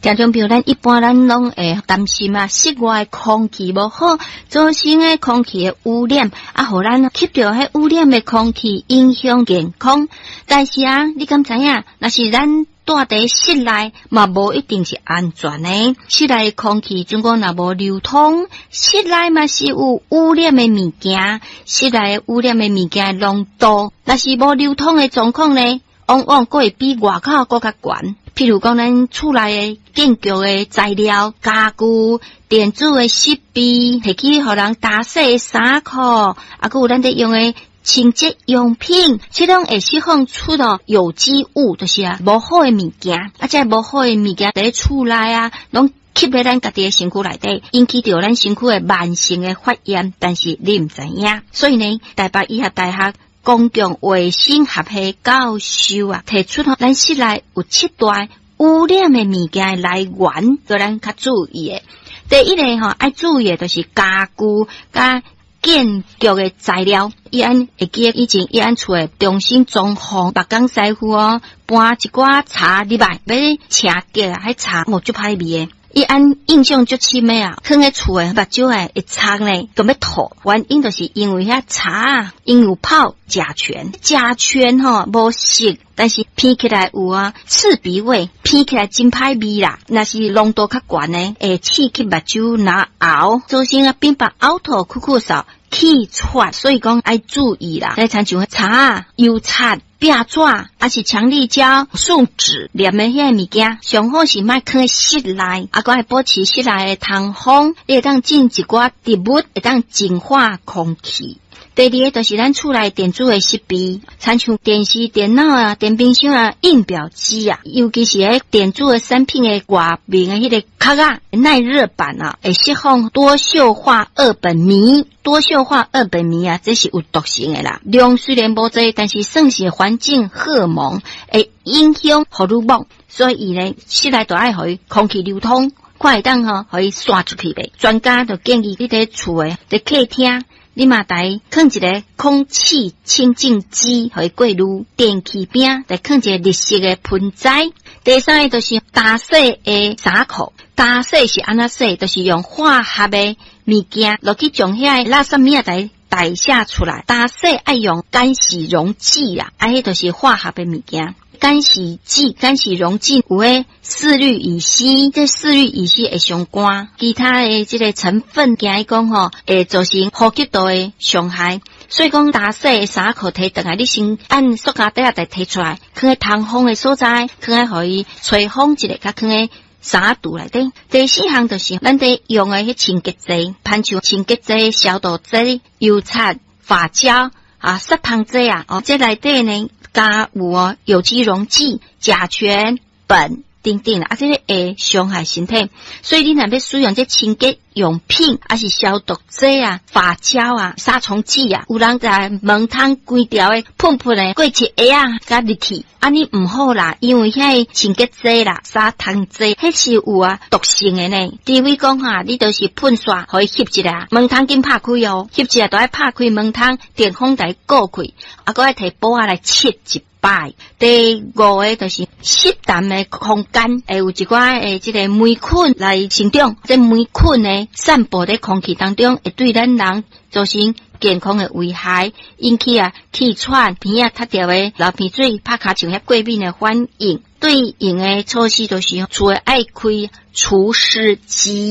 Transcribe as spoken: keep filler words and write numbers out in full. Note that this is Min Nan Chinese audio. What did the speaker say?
聽眾朋友，咱一般咱攏會擔心啊，室外空氣無好，造成的空氣的污染，啊，予咱吸著彼污染的空氣，影響健康。但是啊，你敢知影？若是咱蹛佇室內嘛，無一定是安全的。室內空氣準講若無流通，室內嘛是有污染的物件，室內污染的物件濃度，若是無流通的狀況呢，往往閣會比外口閣較懸。譬如講，咱厝內的建築的材料、家具、電子的設備，提去予人打洗的衫褲，啊，閣有咱佇用的清潔用品，這攏會釋放出著有機物，就是啊，無好的物件，啊，這無好的物件佇厝內啊，攏吸佇咱家己的身軀內底，引起著咱身軀的慢性的發炎，但是你毋知影。所以呢，台北醫學大學公共衛生學系教授啊，提出咱室內有七大污染的物件的來源，予咱較注意的。第一个吼，愛注意的就是家具佮建築的材料，伊按會記得以前伊按厝的重新裝潢，木工師傅哦，搬一寡柴入來，欲清潔啊，彼柴哦足歹味的。伊按印象足深的啊，囥佇厝的目睭的會臭呢，都欲吐。原因就是因為遐柴啊，𪜶有泡甲醛，甲醛吼無色，但是聞起來有啊刺鼻味，聞起來真歹味啦。若是濃度較懸的，會刺激目睭嚨喉，造成啊變白嘔吐、咳咳嗽、氣喘，所以講愛注意啦。來親像柴、油漆、壁紙，抑是強力膠、樹脂黏的彼个物件，上好是莫囥佇室內，啊，閣愛保持室內的通風，你會當種一寡植物，會當淨化空氣。第二个就是咱厝內電子的設備，親像電視、電腦啊、電冰箱啊、印表機啊，尤其是彼電子的產品的外面的彼个殼仔耐熱板啊，會釋放多溴化二苯醚。多溴化二苯醚啊，這是有毒性的啦。量雖然無濟，但是算是環境荷爾蒙，會影響荷爾蒙，所以呢，室內都愛予伊空氣流通，看會當吼，予伊散出去袂。專家就建議你佇厝的佇客廳，你嘛來囥一个空氣清淨機，予伊過濾。電器邊來囥一个綠色的盆栽。第三个就是打洗的衫褲，打洗是按怎洗？就是用化學的物件落去將遐个垃圾物仔來代謝出來。打洗愛用乾洗溶劑啦，啊，彼就是化學的物件。乾洗劑、乾洗溶劑有彼四氯乙烯，這四氯乙烯會傷肝，其他的這个成分驚伊講吼，會造成呼吸道的傷害。所以講，打洗的衫褲提轉來，你先按塑膠袋仔提出來，囥佇通風的所在，囥佇予伊吹風一下，佮囥佇衫櫥內底。第四項就是咱佇用的彼清潔劑，親像清潔劑、消毒劑、油漆、髮膠啊、殺蟲劑啊，哦，這內底呢，加有哦有機溶劑、甲醛、苯等等啊，這个會傷害身體。所以你若欲使用這清潔用品，抑是消毒劑啊、髮膠啊、殺蟲劑啊，有人共門窗規條的噴噴的過漆鞋仔，共入去，按呢毋好啦，因為彼个清潔劑啦、殺蟲劑，彼是有啊毒性的呢。除非講哈，你就是噴煞，予伊翕一下，門窗緊拍開哦，翕一下都愛拍開門窗，電風共伊過開，啊，閣愛提布仔來拭一擺。第五个就是濕澹的空間，會有一寡的這个黴菌來生長，這黴菌呢，散布佇空氣當中，會對咱人造成健康的危害，引起啊氣喘、鼻仔塞著的流鼻水、拍尻槍遐過敏的反應。對應的措施就是厝的愛開除濕機。